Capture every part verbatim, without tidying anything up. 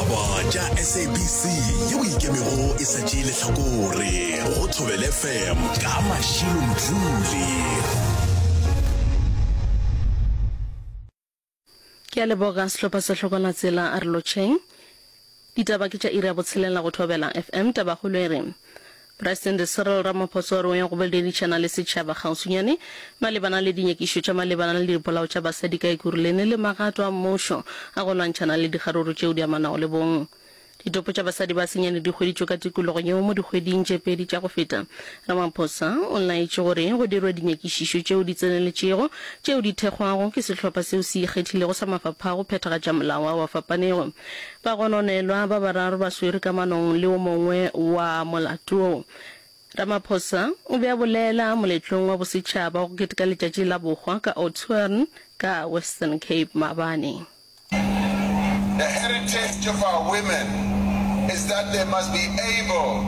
Ditaba tša S A B C yeo ikemego e sa tšee lehlakore go Thobela F M ka Mashilo Mdluli. Ke a leboga sehlopha sa Hlokwana Tsela a re lotšheng. Ditaba ke tša iri ya botshelela go Thobela F M. Tabakgolo e re Presidente Cyril Ramaphosa o re o ya go boledišana le setšhaba kgauswinyane malebana le dinyakišo tša malebana le dipolao tša basadi ka Ekurhuleni le magato a mmušo a go lwantšhana le dikgaruru tšeo di amanago le bong. Ditopo tša basadi ba senyane di hweditšwe ka tikologong yeo mo dikgweding tše pedi tša go feta. Ramaphosa o laetše gore go dirwe dinyakišišo tšeo di tseneletšego tšeo di thekgwago ke sehlopha seo se ikgethilego sa mafapha a go phethagatša molao ao a fapanego. Bagononelwa ba bararo ba swerwe kamanong le o mongwe wa molato wo. Ramaphosa o be a bolela moletlong wa bosetšhaba wa go keteka letšatši la bohwa ka Oudtshoorn ka Western Cape maabane. The heritage of our women is that they must be able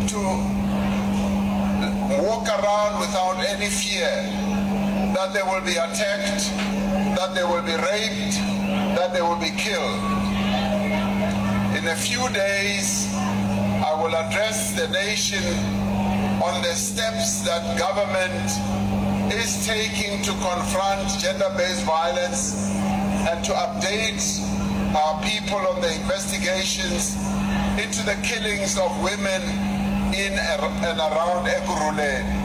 to walk around without any fear that they will be attacked, that they will be raped, that they will be killed. In a few days, I will address the nation on the steps that government is taking to confront gender-based violence and to update our people on the investigations into the killings of women in and around Ekurhuleni.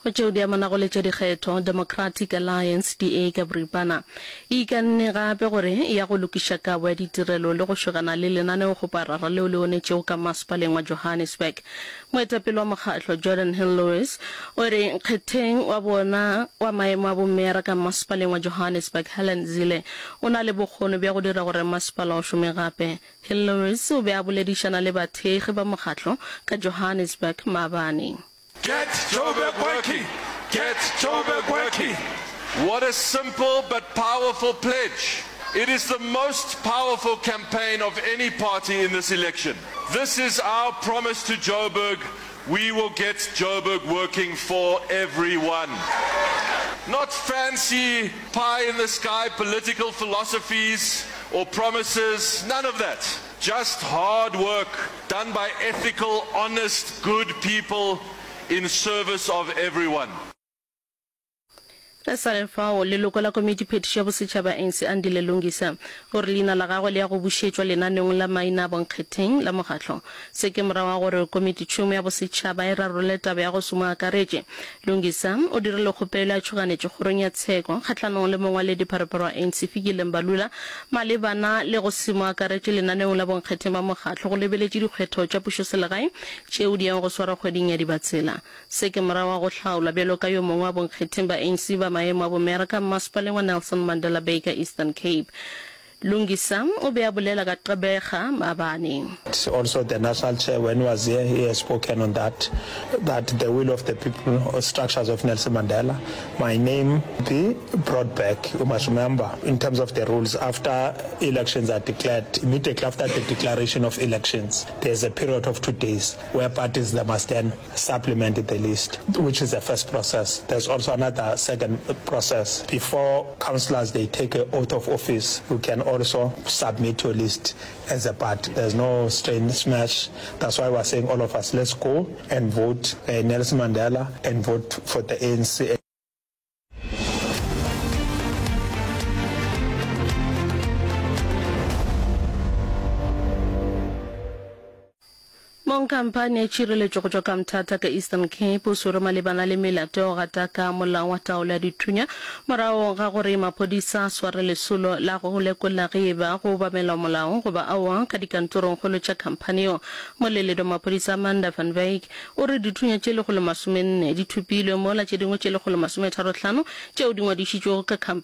Go tšeo di amanago le tša dikgetho, Democratic Alliance, D A ka boripana, e ikanne gape gore e ya go lokiša kabo ya ditirelo le go šogana le lenaneokgoparara leo le onetšego ka masepaleng wa Johannesburg. Moetapele wa mokgatlo, Geordin Hill-Lewis, o re nkgetheng wa bona wa maemo a bomeyara ka masepaleng wa Johannesburg, Helen Zille, o na le bokgoni bja go dira gore masepala o šome gape. Hill-Lewis o be a boledišana le bathekgi ba mokgatlo ka Johannesburg maabane. Get Joburg working! Get Joburg working! What a simple but powerful pledge. It is the most powerful campaign of any party in this election. This is our promise to Joburg. We will get Joburg working for everyone. Not fancy pie-in-the-sky political philosophies or promises, none of that. Just hard work done by ethical, honest, good people in service of everyone. Re sa le fao, leloko la Komiti Phetišo ya Bosetšhaba A N C Andile Lungisa o re leina la gagwe le ya go bušetšwa lenaneong la maina a bonkgetheng la mokgatlo. Se ke morago ga gore Komititšhomo ya Bosetšhaba e rarolle taba ya go se mo akaretše. Lungisa o dirile kgopelo ya tšhoganetšo kgorong ya tsheko kgahlanong le mongwaledipharephare wa A N C Fikile Mbalula malebana le go se mo akaretše lenaneong la bonkgetheng ba mokgatlo go lebeletše dikgetho tša pušoselegae tšeo di yago go swarwa kgweding ya Dibatsela. Se ke morago ga go hlaolwa bjalo ka yo mongwe wa bonkgetheng ba A N C ba maemo a bomeyara ka mmasepaleng wa Nelson Mandela Bay ka Eastern Cape. Lungisa o be a bolela ka Gqeberha maabane. Also the national chair when he was here he has spoken on that, that the will of the people or structures of Nelson Mandela, my name be brought back. You must remember in terms of the rules after elections are declared, immediately after the declaration of elections there's a period of two days where parties they must then supplement the list, which is the first process. There's also another second process. Before councillors they take an oath of office, you can also submit your list as a party. There's no strange smash. That's why we're saying all of us, let's go and vote, uh, Nelson Mandela and vote for the A N C. Mong khamphani ya tšhireletšo go tšwa ka Mthatha ka Eastern Cape o swerwe malebana le melato ya go gataka molao wa taolo ya dithunya morago ga gore maphodisa a sware lesolo la go lekola ge e ba go obamelwa molao goba aowa ka dikantorongkgolo tša khamphani yeo. Moleledi wa maphodisa Amanda van Wyk o re dithunya tše lekgolo masomenne di thopilwe mola tše dingwe tše lekgolo masometharo hlano tšeo di ngwadišitšwego ka khamphani